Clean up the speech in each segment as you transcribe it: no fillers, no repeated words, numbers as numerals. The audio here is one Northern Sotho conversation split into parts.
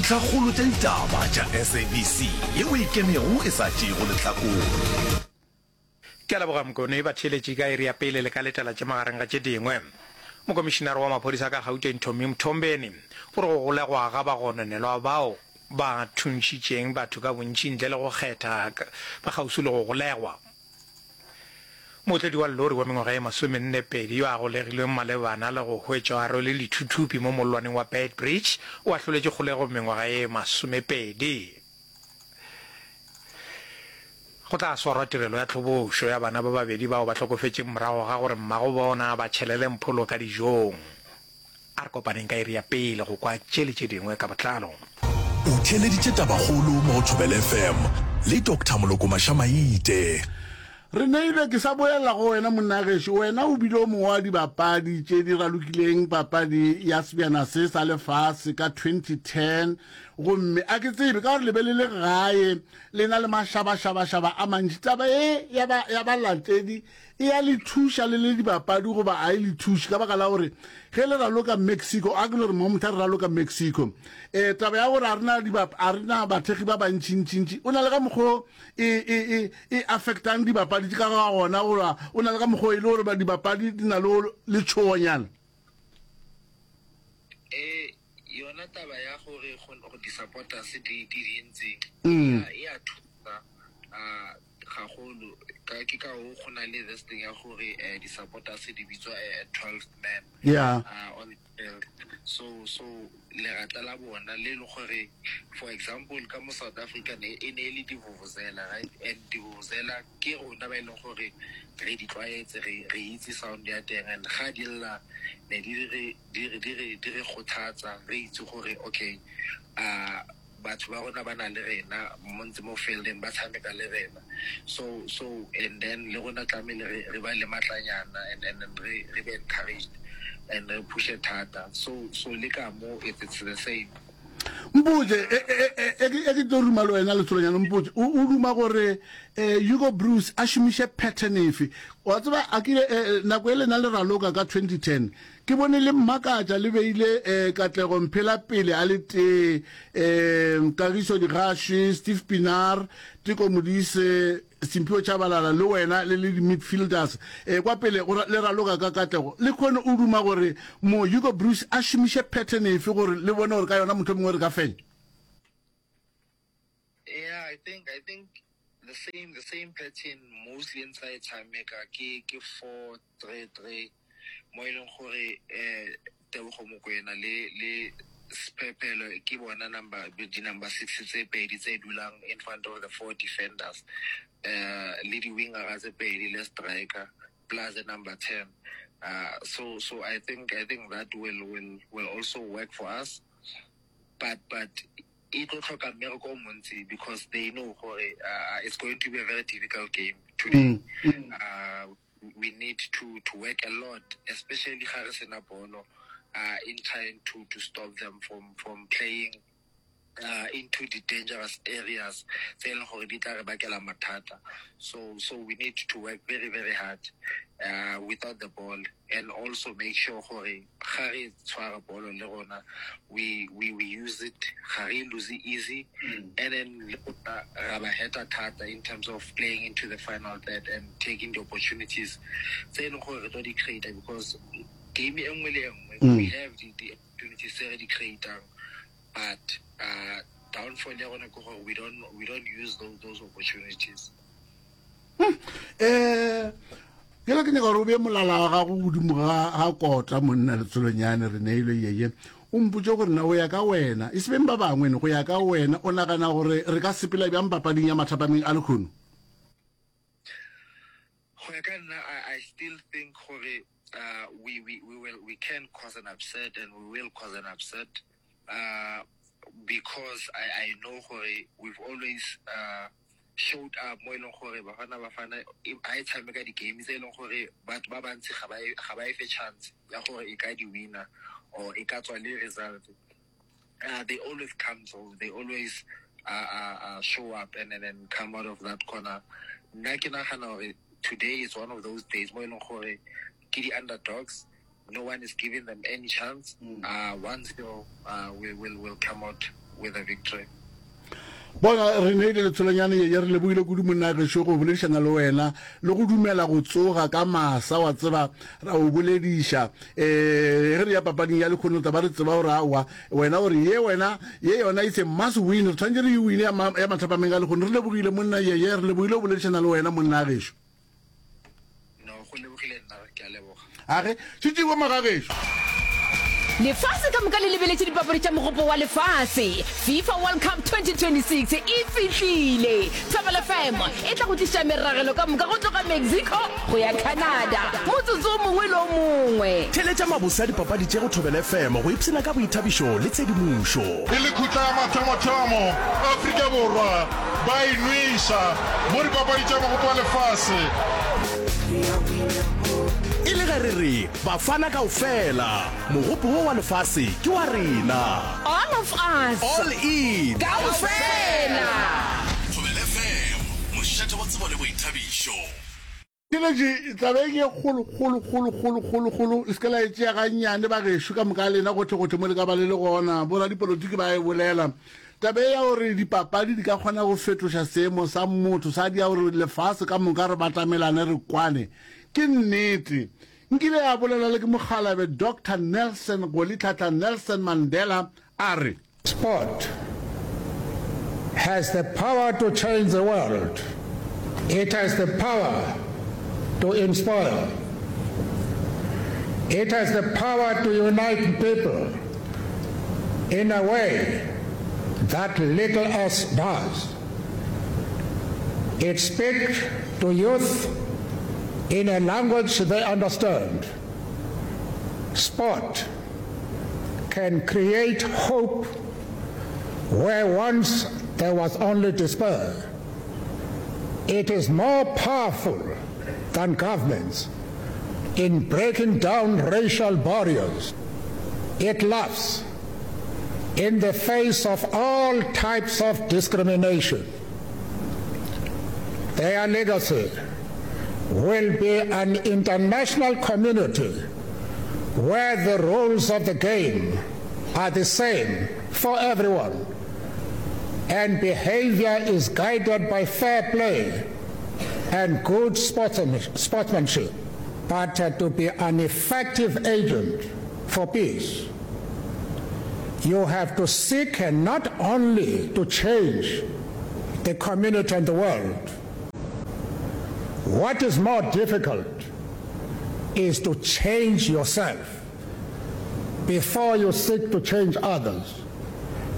Dintlhakgolo tša ditaba tša SABC yeo e kemego e sa tšeego lehlakore. Ke a leboga Mokone, batheeletši ka iri ya pele le ka letela tše magareng ga tše dingwe. Mokomišinare wa maphodisa ka Gauteng Tommy Mthombeni o re go golegwa ga bagononelwa bao ba thuntšhitšeng batho ka bontši ntle le go kgetha ba kgauswi le go golegwa. Mootledi wa lori wa mengwaga ye masomennepedi yo a golegilweng malebana le go hwetšwa a rwele dithuthupi mo mollwaneng wa Beitbridge o ahloletšwe kgolegong mengwaga ye masomepedi. Go tla swarwa tirelo ya tlhobošo ya bana ba babedi bao ba hlokofetšeng morago ga gore mmago bona a ba tšhelele mpholo ka dijong. A re kopaneng ka iri ya pele go kwa tše le tše dingwe ka botlalo. O theeleditše Tabakgolo mo go Thobela FM le Doctor Moloko Mašamaite. Re neilwe, ke sa boela go wena monna gešo, wena o bile o mongwe wa dibapadi tše di ralokileng papadi ya sebjana se sa lefase ka 2010, gomme a ke tsebe ka gore le be le le gae le na le mašabašabašaba a mantši, taba ye ya ba, ya balatedi e a le thuša le le dibapadi goba a e le thuše? Ka baka la gore ge le raloka Mexico, a ke no re mo mohla re raloka Mexico, um taba ya gore a re na a re na bathekgi ba bantšintšintši, o na le ka mokgo e, e, e, e affectang dibapadi tše ka ga gona, goba o na le ka mokgo e le gore dibapadi di na le letšhogonyana? Eh, yona taba ya gore go di-supporters di di dintsi mm. e a thusa uh, gagolo ka ke ka o go na le this thing ya gore eh, di-supporters di bitswa eh, 12th man yeah. uh, on field so so lerata la bona le le gore for example ka mo South Africa ne e ne e le divuvuzela right and divuvuzela ke rona ba e leng gore re di tlwaetse re re itse sound ya teng and ga di lla ne di re di re di re di re kgothatsa re itse gore okay uh batho ba rona ba na le rena mo ntse mo fieldeng ba tshameka le rena so so and then le rona tlamehile re re ba le matlanyana and and then re re be encouraged and re pushe thata so so le ka mo it's, it's the same. Mpotše, e, e, e, e, e ke tlo ruma le wena letsolonyana, mpotše, o, o duma gore eh, Hugo Broos a šomiše pattern efe? Wa tseba, a kile eh, nako e lena le raloka ka 2010, Ke bone le mmakatša le beile eh, Katlego Mphela pele a le tee, eh, Kagiso Digaswi, Steve Pienaar, Teko Modise, Simphiwe Tshabalala le wena le le di-midfielders eh, kwa pele go le raloka ka katlego. Le kgone o duma gore mo Hugo Broos a šomiše pattern efe gore le bone gore ka yona mohlomongwe re ka fenya? Yeah, I think I think the same the same pattern mostly ntse a e tshameka ke ke 4-3-3 mo e leng gore eh Tebogo Mokoena le le Sphephelo ke bona number di number 6 tse pedi tse dulang in front of the four defenders eh le di wingera tse pedi le striker plus the number 10 uh so so I think I think that will will will also work for us but but e tlo tlhoka mmereko o montsi because they know gore uh, it's going to be a very difficult game today. Mm. Uh, we need to, to work a lot, especially ga re sena bolo, uh, in trying to, to stop them from, from playing uh, into the dangerous areas tse e leng gore di tla re bakela mathata. So, so we need to work very, very hard uh, without the ball and also make sure gore ga re tshwara bolo le rona we, we, we use it ga re lose easy mm. and then le rona ra ba heta thata in terms of playing into the final third and taking the opportunities tse e leng gore re tlo di create because game e nngwe le e nngwe mm. we have the, the opportunities tse re di creatang but uh, downfall ya rona ke gore we don't, we don't use those, those opportunities. Um Bjale ke nyaka gore o bee molala wa gago godimo ga, ga kota, monna Letsolonyane, re neilwe yeye. O mpotše gore na go ya ka wena, e se beng ba bangwe, ne, go ya ka wena, o nagana gore re ka sepela bjang papading ya mathapameng a lehono? Go ya ka nna, I, I still think gore uh, we, we, we, will, we can cause an upset and we will cause an upset uh, because I, I know gore we've always uh, showed up mo e leng gore Bafana Bafana ha e tshameka di-game tse e leng gore batho ba bantsi ga ba e, ga ba e fe chance ya gore e ka di winner or e ka tswa le result. Uh, they always come through, they always uh, uh, uh, show up and, and then come out of that corner. Nna ke nagana gore today is one of those days mo e leng gore ke di-underdogs, no one is giving them any chance. Mm. Uh, 1-0 uh, we will will come out with a victory. Bona, re neile letsholonyane ye, ye re lebogile kudu monna gešo go boledišana le wena le go dumela go tsoga ka masa, wa tseba, ra o bolediša. Eh, ge re ya papading ya lekgono tla ba re tseba gore aowa, wena o re ye wena, ye yona it's a must win, re tshwanetse re e wine ya, ma, ya mathapameng a lekgono. Re lebogile monna ye, ye re lebogile go boledišana le wena monna gešo. No, go lebogile nna, ke a leboga. A re, Šetšeng magagešo. Lefase ka moka le lebeletše dipapadi tša Mogopo wa Lefase. FIFA World Cup 2026 e fihlile! Thobela FM e tla go tliša meragelo ka moka go tloga Mexico go ya Canada motsotso o mongwe le o mongwe. Theeletša mabose a dipapadi tše go Thobela FM go ipshina ka boithabišo le tshedimošo. E le khutla ya mathomothomo, Afrika Borwa ba e nweša mo dipapadi tša Mogopo wa Lefase. E le ge re re Bafana kaofela, mogopo wo wa lefase ke wa rena. All of us. All in. Kaofela. Thobela FM, mošate wa tsebo le boithabišo. Theeletše, taba ye ke ye kgolo, kgolo, kgolo, kgolo, kgolo, kgolo. Le se ke la e tšea gannyane, bagešo ka moka lena, gohle-gohle mo le ka ba le le gona. Boradipolotiki ba e bolela. Taba ye ya gore dipapadi di ka kgona go fetoša seemo sa motho, sa dia gore lefase ka moka re batamelane re kwane, ke nnete. Nkile ya bolelwa le ke mokgalabje Doctor Nelson Rolihlahla Nelson Mandela a re. Sport has the power to change the world. It has the power to inspire. It has the power to unite people in a way that little else does. It speaks to youth in a language they understand. Sport can create hope where once there was only despair. It is more powerful than governments in breaking down racial barriers. It laughs in the face of all types of discrimination. Their legacy will be an international community where the rules of the game are the same for everyone and behavior is guided by fair play and good sportsmanship. But uh, to be an effective agent for peace, you have to seek not only to change the community and the world. What is more difficult is to change yourself before you seek to change others.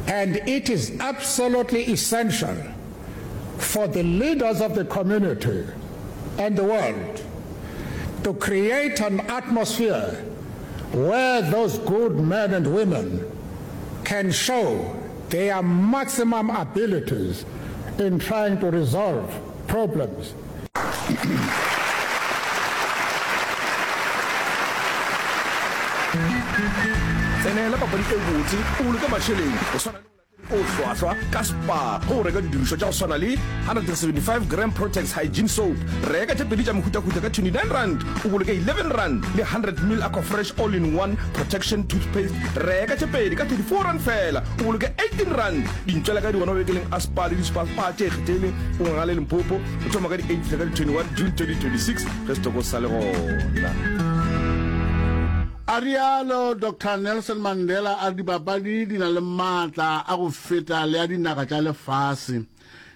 And it is absolutely essential for the leaders of the community and the world to create an atmosphere where those good men and women can show their maximum abilities in trying to resolve problems. Tsenela papadi e botse, o boloke mašeleng go swana le o hlwahlwa ka Spar ge o reka didirišwa tša go swana le 175 gram Protex Hygiene Soap. Reka tše pedi tša mehutahuta ka R29 o boloke R11 le 100 ml Aquafresh All-in-One Protection Toothpaste. Reka tše pedi ka R34 feela o boloke R18. Dintšwela ka di gona mabenkeleng a Spar le di-Spar Spar tše ikgethileng go Ngaka le Limpopo go thoma ka di 8 fihla ka di 21 June 2026 ge setoko se sa le gona. A realo Doctor Nelson Mandela a re dipapadi di na le maatla a go feta le a dinaga tša lefase.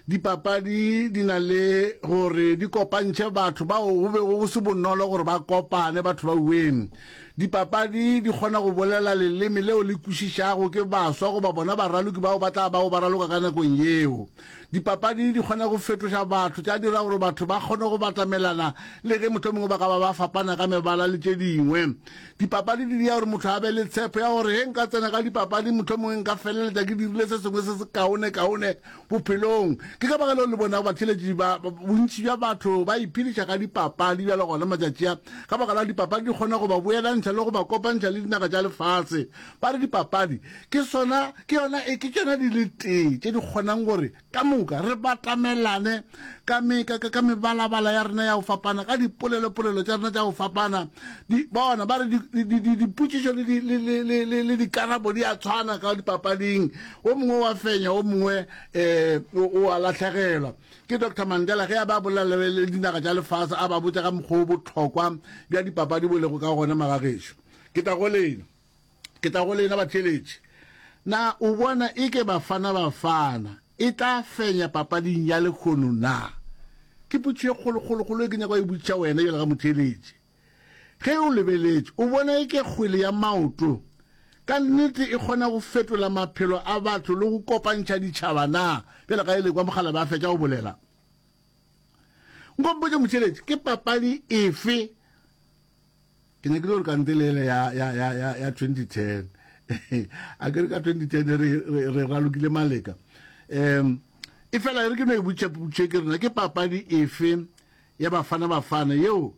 Dipapadi di na le gore di kopantšhe batho bao go bego go se bonolo gore ba kopane batho ba uweng. Dipapadi di kgona go bolela leleme leo le kwešišago ke baswa goba bona baraloki bao ba tla bago ba raloka ka nakong yeo. Dipapadi di kgona go fetoša batho, tša dira gore batho ba kgone go batamelana le ge mohlomongwe ba ka ba ba fapana ka mebala le tše dingwe. Dipapadi di dira gore motho a be le tshepo ya gore ge nka tsena ka dipapading mohlomongwe nka feleletša ke dirile se sengwe se se kaonekaone bophelong. Ke ka baka leo le bonago batheeletši ba bontši bja batho ba iphediša ka dipapadi bjalo gona matšatši a, ka baka la dipapadi di kgona go ba boelantšha. gahlantšha le go ba kopantšha le dinaga tša lefase. Ba re dipapadi ke sona, ke yona, ke tšona di le tee tše di kgonang gore Ka moka re batamelane ka me, ka, ka, ka mebalabala ya rena ya go fapana, ka dipolelopolelo tša rena tša go fapana. Di, bona, ba re di, di, di, di, dipotšišo le, di, le, le, le, le, le dikarabo di a tshwana ka dipapading. O mongwe o a fenya, o mongwe um o, o a lahlegelwa. Ke Doctor Mandela ge a be a bolela le, le dinaga tša lefase, a ba botša ka mokgwa o bohlokwa bja dipapadi bo lego ka gona, magagešo. Ke tla go lena. Ke tla go lena batheeletši. Na o bona eke Bafana Bafana e tla fenya papading ya lehono na? Ke potšišo e kgolokgolokgolo e ke nyaka go e botšiša wena bjalo ka motheeletši. Ge o lebeletše, o bona eke kgwele ya maoto ka nnete e kgona go fetola maphelo a batho le go kopantšha ditšhaba na? Bjalo ka e le kwa Mokgalabje a fetša go bolela. Nko mpotše motheeletši, ke papadi efe Ke nyakile gore kante le ele ya, ya, ya, ya, ya 2010. A ke re ka 2010 re, re, re ralokile maleka. Um, e fela e re ke no e botša potšo ke rena ke papadi efe ya Bafana Bafana yeo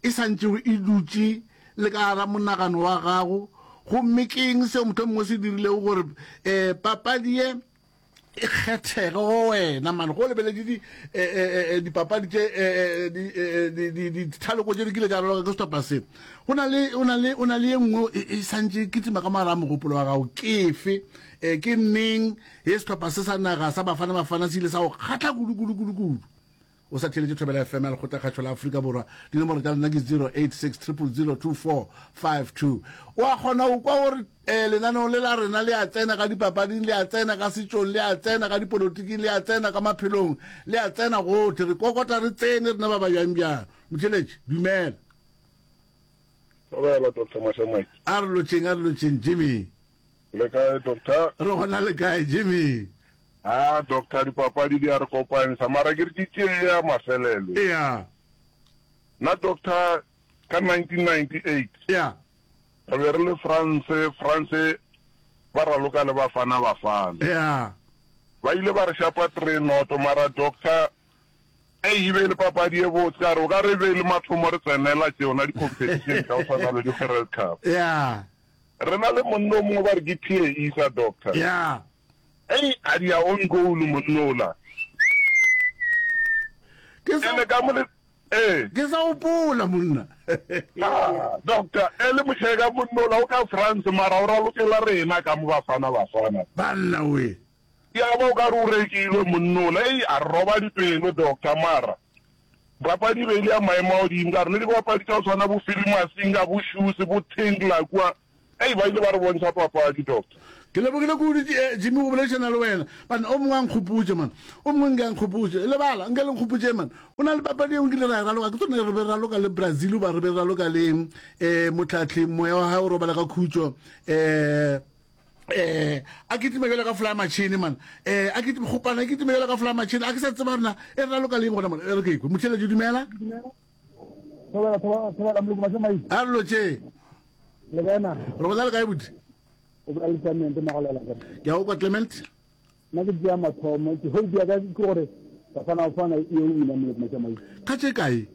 e sa ntšego e dutše le ka gara monagano wa gago gomme ke eng seo mohlomongwe se dirilego gore um papadi ye e kgethege go wena mane go lebeletše di eh, eh, eh, dipapadi tše dithaloko tše di kile tša raloka ke sehlopha se go na le o na le o na le ye nngwe e, e santše e kitima ka mogare a mogopolo wa gago ke efe um ke neng ye sehlopha se sa naga sa bafana bafana se ile sa go kgatla kudu kudu kudu kudu O sa theeletše Thobela FM ya Lekgotlakgašo la Afrika Borwa. Dinomoro tša lena ke 086 000 2452. O a kgona go kwa gore eh, lenaneo le la rena le a tsena ka dipapading, le a tsena ka setšong, le a tsena ka dipolotiking, le a tsena ka maphelong, le a tsena gohle. Re kokota re tsene rena ba ba bjang bjang. Motheeletši, dumela. Thobela, Doctor Mashamaite. A re lotšheng, a re lotšheng, Jimmy. Le kae, Doctor? Re gona le kae, Jimmy? Ah, Doctor, dipapadi di a re kopantsha, mara ke re ke tšee ya mafelelo. Ea. Nna, Doctor, ka 1998. Ea. Re be re le France, France ba raloka le Bafana Bafana. Ea. Ba ile ba re šapa three noto, mara Doctor, ei, e be e le papadi e botse, ka re o ka re e be e le mathomo re tsenela tšona di-competition tša go tshwana le di-World Cup. Ea. Re na le monna o mongwe ba re ke Pierre Issa, Doctor. Ea. Ei, a dia own goal monna ola. Ke sa Ene ka mo le ee. Ke sa gopola monna. Ah, doctor, e le mošeka monna ola o ka France mara o ralokela rena ka mo Bafana Bafana. Banna we. Ya ba o ka re o rekilwe monna ola. Ei, a re roba dipelo doctor mara papadi e be e le ya maemo a godimo ka re le dibapadi tša go tshwana bo Phiri Masinga, bo Shoes, bo Tinkler kua Ei, ba ile ba re bontšha papadi, Doctor. Ke lebogile kudu, eh, Jimmy, go boledišana le wena. Banna, o mongwe a nkgopotše, man. O mongwe nke a nkgopotše. Lebala, nke le nkgopotše, man. Go na le papadi yeo nkile ra e raloka. Ke tsone re be re raloka le Brazil, goba re be re raloka le, eh, mohlahli, moya wa gae o robala ka khutšo. Eh, eh, a kitima bjalo ka fly machine, man. Eh, a kitima, kgopana, a kitima bjalo ka fly machine. A ke sa tseba rena, e re raloka le eng gona, man. E re ke ikwe. Motheeletši, dumela. Thobela, thobela, thobela, moloko mašemaile. A re lo tše. Le kae na? Re gona le kae buti? O bolela le Clement Magolela ke. Ke a o kwa Clement. Nna ke tšea mathomo, ke hope ya ka ke gore Bafana Bafana e o wina moloko mašemaile. Ka tše kae?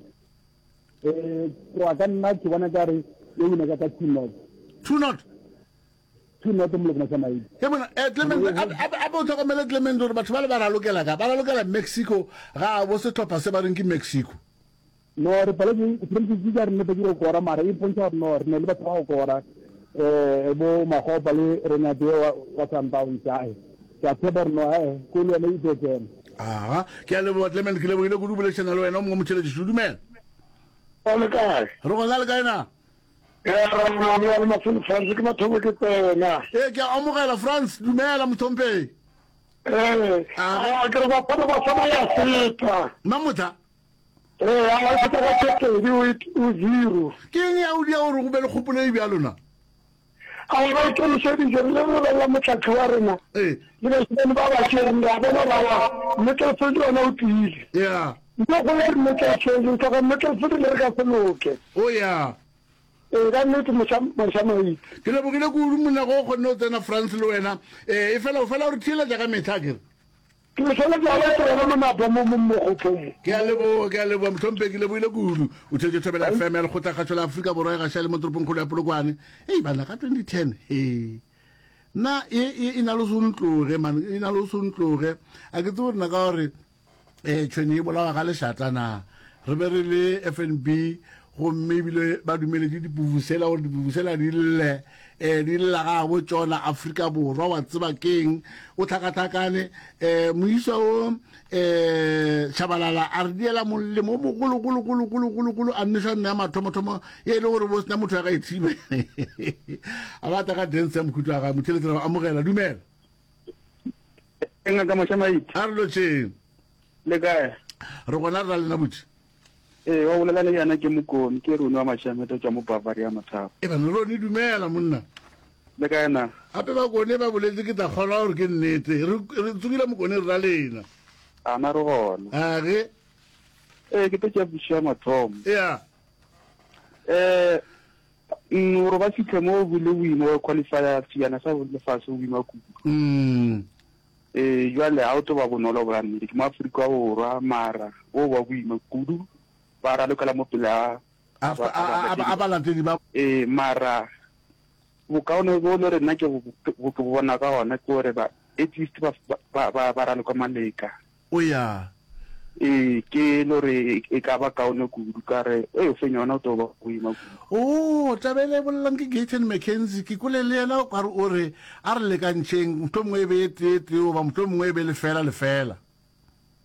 Eh, go ka nna ke bona ka re e wina ka ka 2 not. 2 not. 2 not moloko mašemaile. Ke bona eh Clement a bo tlhokomele Clement gore batho ba le ba ralokela ka ba ralokela Mexico ga bo sehlopha se ba reng ke Mexico. No, re paletše Francis ke a re nnete ke go kora mara e mpontšha gore no re ne le batho ba go kora um bo Magopa le Renate wa wa Sundowns ae ke a tshepa gore no ae ko le yone e tlo tsena. Aga, ke a leboga Clement, ke lebogile kudu boledišana le wena o mongwe motheeletši. Dumela. O le kae? Re gona le kae na? Ya ra le le Mafelo France ke mathomo ke tsena. Ee, ke a amogela France, dumela mohlomphegi. Ee, a ke re bafana bafana ya feta. Mamotha. Ee, a feta ka tše pedi o zero. Ke eng ya o dia gore go be le kgopolo e bjalo na? A ba ikemišeditše, re le re lebelela mohlahli wa rena Ee. le bašemane ba ba tšereng, re a bona gore aowa Middlefield yona o tiile. Ya. Ntle go le Middlefield, re hloka Middlefield le re ka se loke. O ya. Ee, ka nnete moša, moša Maite. Ke lebogile kudu monna go o kgonne go tsena France le wena. Ee, efela o fela o re theeletša ka mehla akere? Ke le swanetše go ba tsena monapa mo mo mogopong mo. Ke a leboga, ke a leboga mohlomphegi, ke lebohile kudu. O theetše Thobela FM ya Lekgotlakgašo la Afrika Borwa e gaša le mo toropongkgolo ya Polokwane. Hei banna, ka 2010, hee. Nna e, e, e na le go se ntloge, man, e na le go se ntloge. A ke tsebe gore na ka gore eh tšhwene e bolawa ga lešata na. Re be re le FNB gomme ebile ba dumeletše dipuvusela gore dipuvusela di lle um di lla ga bo tšona Afrika Borwa wa tseba keng o tlhakatlhakane um moisa o um Shabalala a re diela molemo o mogologologologologolo a nweša nna ya mathomothomo ye e le gore bo sena motho ya ka e thibe a bata ka dance ya mokhutlo wa gae motheletsi ra amogela dumela Ngaka Mošamaite. A re lotšheng. Le kae? Re gona re ra lena botši. Ee, wa bolela le yena ke Mokone, ke Rone wa Mashamete tšwa mo Bavaria Mothapo. E bana Rone dumela monna. Le kae na? Gape Bakone ba boletse ke tla kgolwa gore ke nnete. Re re tsogile Mokone re ra lena. A na re gona. A ge. Ee, ke tlo tšea pušo ya mathomo. Ya. Eh, gore ba fitlhe mo bo le boima ba qualifya sejana sa lefase go boima kudu. Mm. Ee, jwale ga o tlo ba bonolo bra nnete. Ke mo Afrika Borwa mara bo ba boima kudu ba ralokela mo pele ga a balatedi ba. Ee, mara bokaone bo le rena ke bo ke bona ka gona ke gore ba at least ba ba ba raloka maleka. O ya. Ee, ke lo re e ka ba kaone kudu ka re e o fenya ona o tlo ba boima kudu. Oo, taba ele e bolelang ke Gayton McKenzie, ke kwele le yena o kare o re a re lekantšheng, mohlomongwe e be e tee tee goba mohlomongwe e be lefela lefela.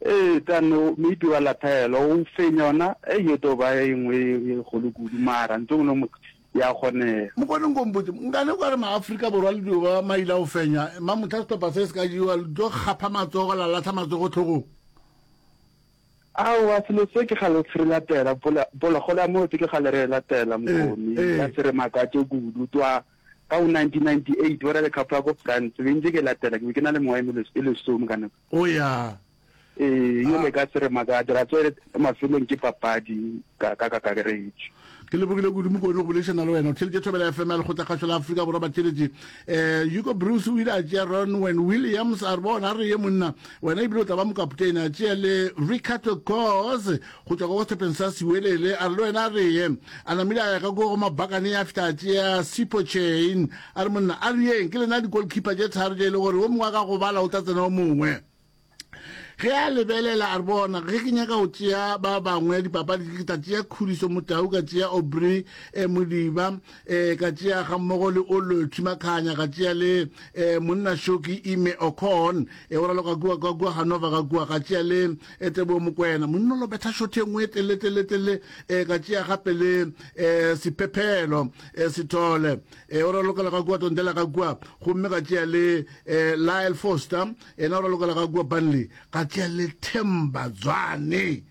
Ee, tane maybe wa lathela, o fenya ona, ei e tlo ba e nngwe e kgolo kudu, mara ntho e nngwe ya kgonega. Mokone nko mpotše, nkane o ka re maAfrika Borwa le dio ba maila go fenya, mamohla sehlopha se se ka jewa, le tlo kgapha matsogo la lahla matsogo hlogong? Aowa, selo se ke kgale se re latela, bola, bolakgolo ya motse ke kgale re e latela, Mokone, Eh, eh. ya se re makatše kudu. Twa ka go 1998 ba rale cup ya ko France, be ntse ke e latela, ke be ke na le mengwaga e meles- e lesome ka nako. O ya. Ee, yo le ka se re makatše, ra tseba mafelong ke papadi ka ka kakaretšo. Ke lebogile kudu Mokone go boledišana le wena. O theeletše Thobela FM ya Lekgotlakgašo la Afrika Borwa batheeletši. Eh, Hugo Broos o ile a tšea Ronwen Williams a re bona a re ye monna wena ebile o tla ba mokapotene. A tšea le Ricardo Goss go tšwa ka sehlopheng sa Siwelele a re le wena a re ye. A namile a ya ka ko go Mabhakane a fihla a tšea Sipho Chaine a re monna a re yeng ke lena di-goalkeeper tše tharo tše e le gore o mongwe a ka gobala o tla tsena o mongwe. Ge a lebelela a re, Bona, ge ke nyaka go tšea ba bangwe dipapadi, ke tla tšea Khuliso Motau, ka tšea Aubrey eh, Modiba, eh, ka tšea gammogo le Olwethu Makhanya, ka tšea le eh, monna Shoki Ime Okon, eh, o raloka kua, ka kua Hanover ka kua, ka tšea le eh, Teboho Mokoena, monna o lo betha shot e nngwe e telele, telele, telele, eh, ka tšea gape le eh, Sephephelo eh, Sithole, eh, o ralokela ka kua Tondela ka kua, gomme ka tšea le eh, Lyle Foster, Yena o ralokela ka kua Burnley, ka tšea le Themba Zwane.